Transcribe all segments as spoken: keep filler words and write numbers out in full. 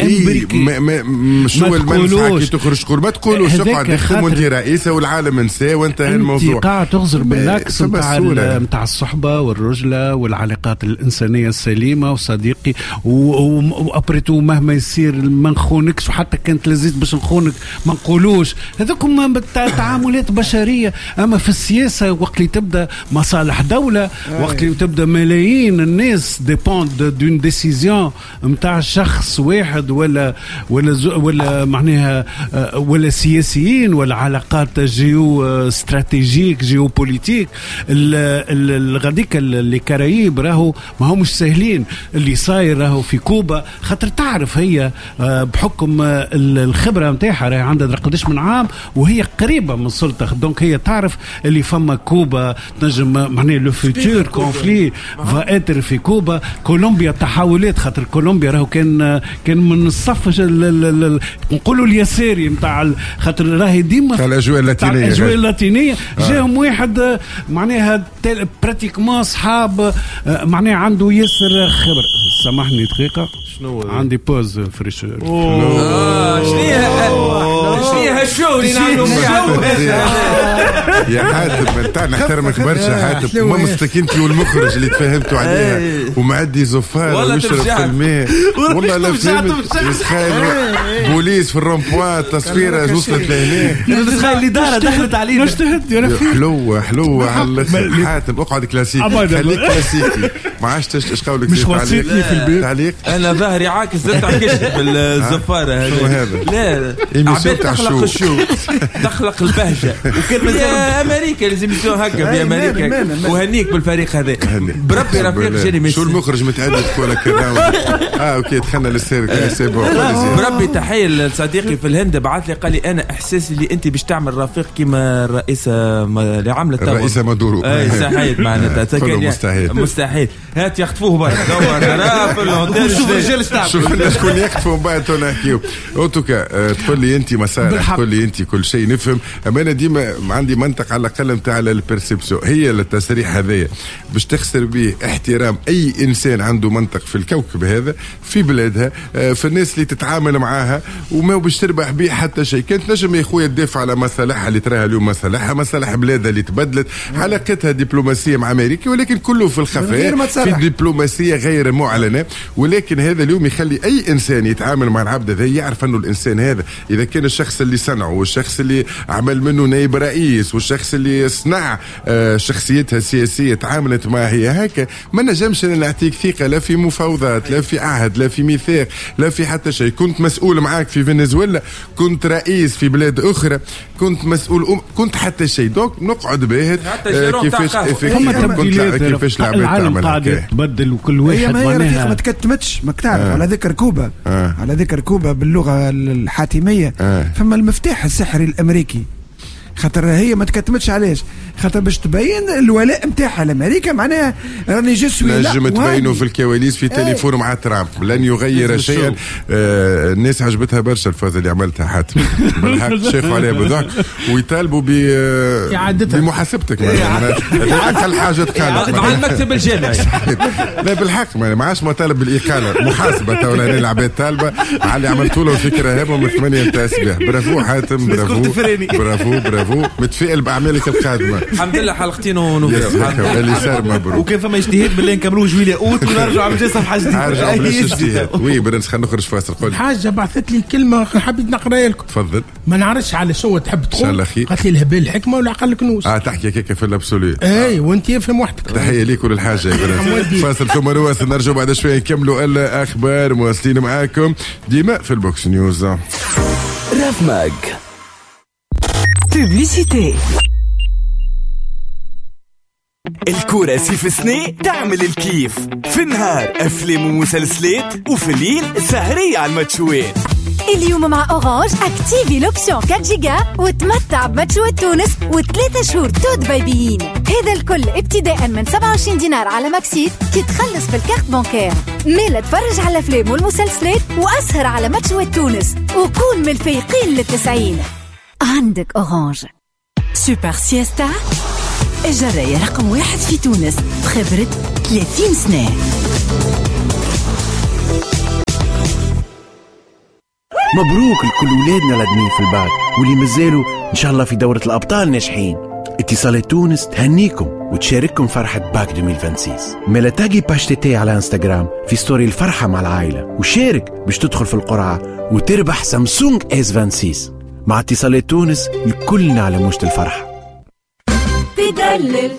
امريكي. ما ما شو المنفعة كي تخرج تقول ما تقولوش، اقعد اخدم وانت رئيسه والعالم نساه وانتهى الموضوع. انت قاعد تغزر بالعكس نتاع نتاع الصحبة والرجله والعلاقات الانسانية السليمة وصديقي و après tout مهما يصير ما نخونكش، وحتى كانت لزيت باش نخونك ما نقولوش. هذوكم تعاملات بشرية. اما في السياسة وقت اللي تبدا مصالح دولة، وقت اللي تبدا ملايين الناس dépendent d'une décision نتاع شخص واحد ولا ولا ولا معناها ولا سياسيين ولا علاقات géo-stratégiques géopolitiques. غاديك les Caraïbes راهو ما همش ساهلين. اللي صاير راهو في كوبا، خاطر تعرف هي بحكم الخبرة نتاعها راهي عندها قداش من عام وهي قريبه من السلطة، donc هي تعرف اللي فما كوبا تنجم معناها le futur conflit va être في كوبا. كولومبيا تحولات، خاطر كولومبيا راهو كان كان من الصف نقولوا اليساري نتاع، خاطر راهي ديما تاع الاجواء اللاتينية. الاجواء اللاتينية آه. جاهم واحد معناها pratiquement صحاب معناها عنده ياسر خبر. سامحني دقيقة، شنو عندي pause fraîcheur. آه شنو شنو هال show اللي نعملوا يا حاتم؟ انت نحترمك برشا حاتم، مامستك انت والمخرج اللي تفاهمتوا عليها ومعدي زفار ويشرب في الماء. والله لا فهمت، بوليس في ال rond-point تصفيره وصلت لهنا، تخيل الادارة دخلت علينا. نجتهد يا رفيق. حلوة حلوة على الاخر حاتم، اقعد كلاسيكي، خليك كلاسيكي، ما عادش اش قولك. مش وصيتني في البيت تعليق. انا ظهري عاكس زدت عكشت بالزفاره هذه. لا عباد تخلق ال show، تخلق البهجة. وكان مازال امريكا لازم يسووا هكا في امريكا. وهنيك بالفريق هذا بربي رفيق جاني. شو المخرج متعدد ولا كذا؟ اه OK دخلنا للسيرك c'est bon. بربي تحية لصديقي في الهند، بعث لي قال لي انا احساسي اللي انت باش تعمل رفيق كيما الرئيسة اللي عملت الرئيسة مادورو. اي صحيح معناتها مستحيل مستحيل. هات يخطفوه برك شوف الرجال شوف لنا شكون يخطفوا ومن بعد نحكيو. en tout cas تقول لي انت مسارح، تقول لي انت كل شيء نفهم، اما انا ديما عندي منطق على الاقل نتاع ال perception. هي التصريح هذايا باش تخسر به احترام اي انسان عنده منطق في الكوكب هذا، في بلادها، في الناس اللي تتعامل معاها، وما باش تربح به حتى شيء. كانت نجم يا خويا تدافع على مصالحها اللي تراها اليوم مصالحها، مصالح بلادها اللي تبدلت، علاقتها دبلوماسية مع امريكا، ولكن كله في الخفاء، في دبلوماسية غير معلنة. ولكن هذا اليوم يخلي اي انسان يتعامل مع العبد هذا يعرف انه الانسان هذا اذا كان الشخص اللي صنعه والشخص اللي عمل منه نائب رئيس والشخص اللي صنع شخصيتها السياسية تعاملت معها هي هكا، ما نجمش انا نعطيك ثقة لا في مفاوضات لا في عهد لا في ميثاق لا في حتى شيء. كنت مسؤول معاك في فنزويلا، كنت رئيس في بلاد اخرى، كنت مسؤول أم... كنت حتى شيء. donc نقعد باهت كيفاش كيفاش العالم قاعد يتبدل وكل واحد معناها ما تكتمتش. ما تعرف آه. على ذكر كوبا آه. على ذكر كوبا باللغة الحاتميه آه. فما المفتاح السحري الامريكي، خاطر هي ما تكتمتش. علاش؟ خاطر باش تبين الولاء نتاعها لامريكا، معناها راني je suis نجم تبينوا في الكواليس في تليفون مع ترامب لن يغير شيئا. آه الناس عجبتها برشا الفازة اللي عملتها حاتم بالحق، شافوا عليها بالضحك ويطالبوا ب بمحاسبتك. اقل حاجة تقالت مع المكتب الجامعي. لا بالحق ما عادش مطالب بالاقاله، محاسبه تو العباد طالبه على اللي عملتوا له فكرة هبه من ثمانية نتاع الصباح. برافو حاتم، برافو برافو برافو، متفائل باعمالك القادمة. الحمد لله حلقتين ونوفيو اللي صار مبروك. وكان فما اجتهاد بالله نكملوه جويلية اوت ونرجعوا عم صفحة جديدة. نرجعوا بلاش اجتهاد. oui برنس خلينا نخرج فاصل. قول حاجة بعثت لي كلمة حبيت نقراها لكم. تفضل. ما نعرفش على شو تحب تقول. قالت لي الهبال الحكمة والعقل الكنوز. اه تحكي هكاك في l'absolu. اي وانت افهم وحدك. تحية ليك وللحاجه يا برنس. فاصل ثم نواصل، نرجعوا بعد شوية نكملوا الاخبار. مواصلين معاكم ديما في ال Box News. رافماج publicité. الكورة سيف سني تعمل الكيف في النهار، أفلام ومسلسلات، وفي الليل سهرية على الماتشوات. اليوم مع Orange activer l'option أربعة جيجا وتمتع بماتشوات تونس وثلاثة شهور tout payés. هذا الكل ابتداء من سبعة وعشرين دينار على Maxit كي تخلص بال carte bancaire. ميلا تفرج على الأفلام والمسلسلات وأسهر على ماتشوات تونس وكون من الفايقين للتسعين. عندك Orange. Super Siesta الجراية رقم واحد في تونس بخبرة ثلاثين سنة. مبروك لكل ولادنا الادمين في الباك واللي مازالوا ان شاء الله في دورة الابطال ناجحين. اتصالات تونس تهنيكم وتشارككم فرحة باك ألفين وستة وعشرين. مالا taguer page TT على انستغرام في story الفرحة مع العائلة وشارك باش تدخل في القرعة وتربح Samsung S ستة وعشرين. مع اتصالات تونس الكلنا على موجة الفرحة. تدلل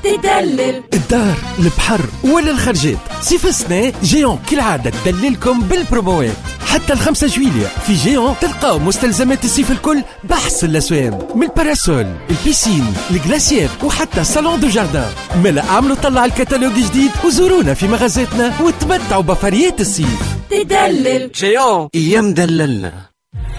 تدلل. الدار، البحر ولا الخرجات، صيف السنة Géant كالعادة تدللكم بالبروموات حتى الخمسة جويلية. في Géant تلقاو مستلزمات الصيف الكل بأحسن الأسوام، من ال parasol، ال piscine، ال glacière وحتى salon de jardin. مالا اعملوا طلة الكتالوج جديد وزورونا في مغازاتنا وتمتعوا بفريات الصيف. تدلل. Géant يا مدللنا.